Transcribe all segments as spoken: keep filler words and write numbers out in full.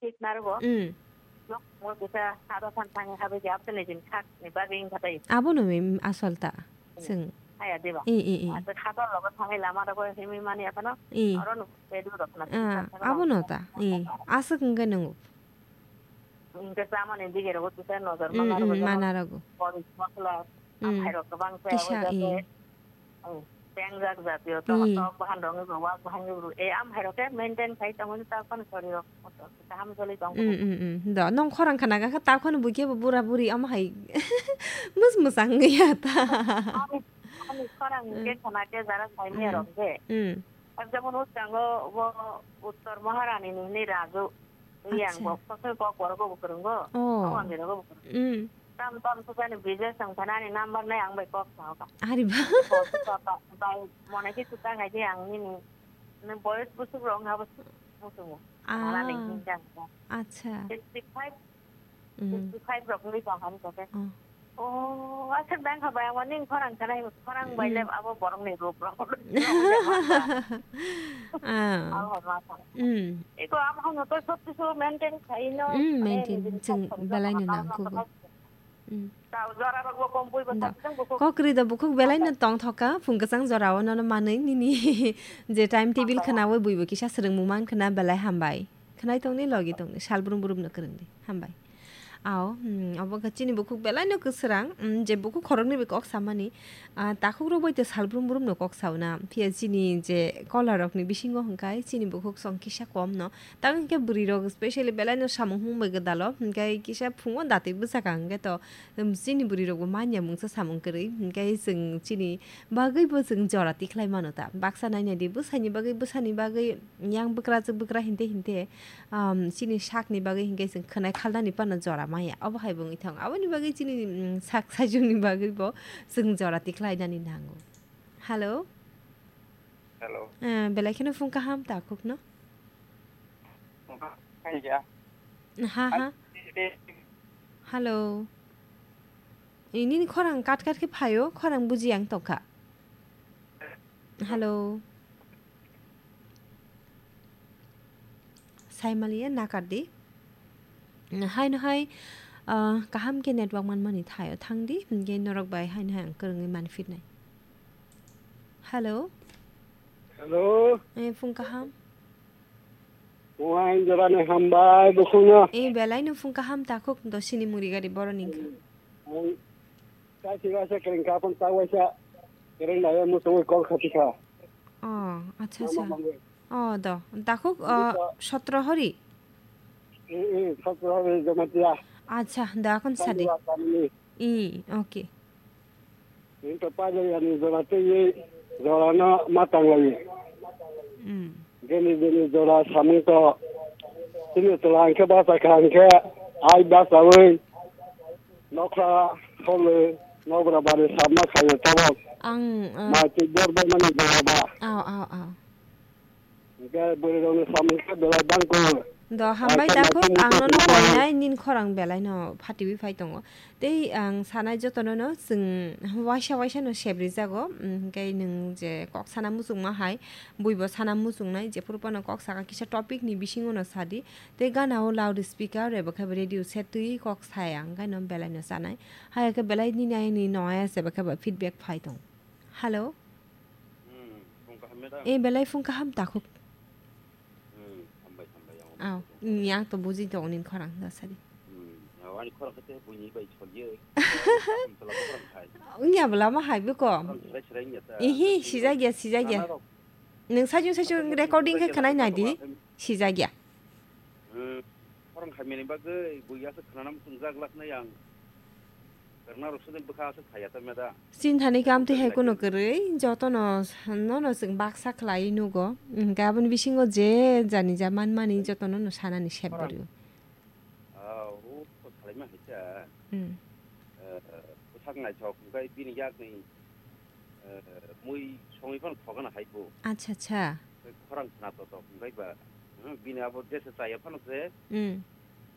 Thik narwgo. Mm. Nok mo kisa hado than thangwi habwi di abtene din khak ni bagwi wngkha tei. Abono mi asol ta. Mm. Chwng. Haya diba? I, i, i. Asa khator logo thangwi lama rogo himwi mani aphano. I. Oro nuk pedu rok na. Ah, abono ta. I. Aswk wngkhe nungo. Hingke chamani dige rogo kisa nojor. Mm, mana rogo mm, jemon mana rogo. Koris mosla, mm, amhai rok kwbang se kisa, abo jate, i. Pengjak jatiyo to, mm, tok bahan rok wngkha, wak bahan wngkha, e, amhai rok khe maintain khai tongmani ta phano sorry rok, kaham choli tong. Mm, mm, mm. Do, nong khorang khana kha ta phano buikhe bo bura buri amhai mus musang ya ta. Ani, ani khorang, mm, ke khana ke jara saimya rok je. Mm. Jemon o chango bo Uttor Maharani ni hwnwi Raju, yang. Acha. Bo koso kok borok bo kwrwngo. Oh. Ang ni rogo bo kwrwngo. Mm. Tam tam sukani business ang thanani number nai ang bai kok sao ka. Ari ba. Kok sao ka. Bai mone ki suta ngai je ang nini. Ne boyos busuk rong ha busuk musumu. Ah. Nana ni hinjang ka. Acha. Sixty five, mm, sixty five rok ni tong han ko ke. Oh. Oh, aswk dang kha bai ang ning khorang kanai khorang bai le abo borok ni rup rok. Ah. Abo ma sa. Mm. Iko abo hano to sob kisu maintain khai no. Mm, maintain. Chwng belai no nang kho bo. Mm. Kokri da bukhuk belai no tong thoka, phung kwchang jora o nono manwi nini je time table khwnawi buibo kisa swrwngmung man khwna belai hambai. Khwnai tongni logi tongni sal brum brum no kwrwngdi. Hambai. Ao, mm, obo khe chini bukhuk belai no kwswrang, mm, je bukhuk khoroknwi bai kok samani, ah, takhuk rok bai te sal brum brum no kok sauna. Phiya chini je kola rokni bisingo hwnkhe chini bukhuk song kisa kom no. Tamo hwnkhe bwrwi rok specially belai no samung hung bai gwdalo, hwnkhe kisa phungo datwi bwsakha hwnkhe to, um, chini bwrwi rokbo manya mungsa samung kwrwi, hwnkhe chwng chini bagwi bo chwng jora tikhlai mano ta. Baksa naina di bwsani bagwi, bwsani bagwi yang bwkrajwk bwkra hinte hinte, um, chini sakni bagwi hwnkhe chwng khwnai khalnani phano jora maya. Obo hai bo wngwi thango. Aboni bagwi chini, um, sak sajwkni bagwi bo chwng jora tikhlai nani nango. Hello? Hello. Eh, belai kheno phung kaham takhuk no? Phung kaham khaija. Ha, ha. Hello. Ini ni khorang kat kat khe phaio, khorang buji ang tongkha. Hello. Saimaliya nakardi. Haino hai, ah, kaham khe network manmani thaio thangdi, hwnkhe norok bai haino hai ang kwrwngwi manphirnai. Hello. Hello. Eh, phung kaham. Phung hai jorani hambai bukhukno. Eh, belai no phung kaham takhuk dosini muri gari boroni wngkha. Ang kaisi waisa kwrwngkha, phone ta waisa kwrwng nai muchungwi call khatikha. Oh, acha, acha. Mama mangwi. Oh, do. Takhuk, oh, sotro hori? Eh, eh, sotro hori Jamatia. Acha, da kon sadi. Tamni. Eh, okay. Ito pajayani jora tei jorano ma tanglaio. Mm. Gini gini jora samung to. Chini chwla hwnkhe bachakha hwnkhe ai bachaui nokha kholo nokra bari samma khaio tabok. Ang, uh, ma twi bor bai mani jora ba. Aw, aw, aw. Hwnkhe bwrwirokni samung khe belai bangkuk. Do, hambai takhuk, ang nono koinai nini khorang belai no phatiwi phai tongo. Tei ang sanai jotono no chwng waisa waisa no sep rijago, mm, hwnkhe nwng je kok sana muchungma hai, buibo sana muchungnai, jephuru phano kok saka kisa topic ni bisingo no sadi. Tei gana o loud speaker eba khe radio set twi kok sai ang, hwnkhe no belai no sanai. Hai khe belai nini ayang ni noya se eba khe ba feedback phai tong. Hello? Hmm, phung kaham ya da? Eh, belai phung kaham takhuk. Hmm, hambai, hambai, ang. Aw, hmm, yang to buji tongo nini khorang da sadi. Hmm, aw, ani khorang khe buini bai soliyo. Kaham tola khorang khai. Wngya bwla ma hai bwkho. Khorang serai serai wngya ta. Ihi, sijak ya, sijak ya. Nana rok. Nwng sajung sajung recording khe khwnai nai di. Sijak ya. Hmm, khorang khaimani bagwi buiya se khwnana muchungjak laknai ang. Kwrwngna rok sudin bwkha aswk phaiya ta meda. Chini thani khe amtwi hai kheno kwrwi, jotono, nono chwng baksa khlai nugo. Hwnkhe aboni bisingo je jani ja manmani jotono no sanani sep bwrwi. Ah, o, o salaima hai ta. Hmm. Eh, bwsak naithok, hwnkhe bini yakni, eh, mui songwi phano thogana hai bo. Acha, acha. Khorang khna to to, hwnkhe ba, hmm, bini abo jesa chaya phano se. Hmm.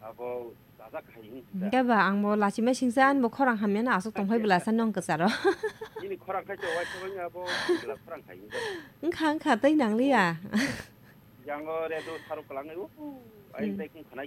Abo chajak hai hwn. Hwnkhe ba ang bo lachima singsa, ani bo khorang hamya no aswk tongphai bwla sa nong kwcharo. Nini khorang khai to wai thangwi abo bwla khorang khai hwn. Wngkha, wngkha, tei nangliya. Yango redo saruk kwlangwi, u, u, ai hmm, tei kung khanai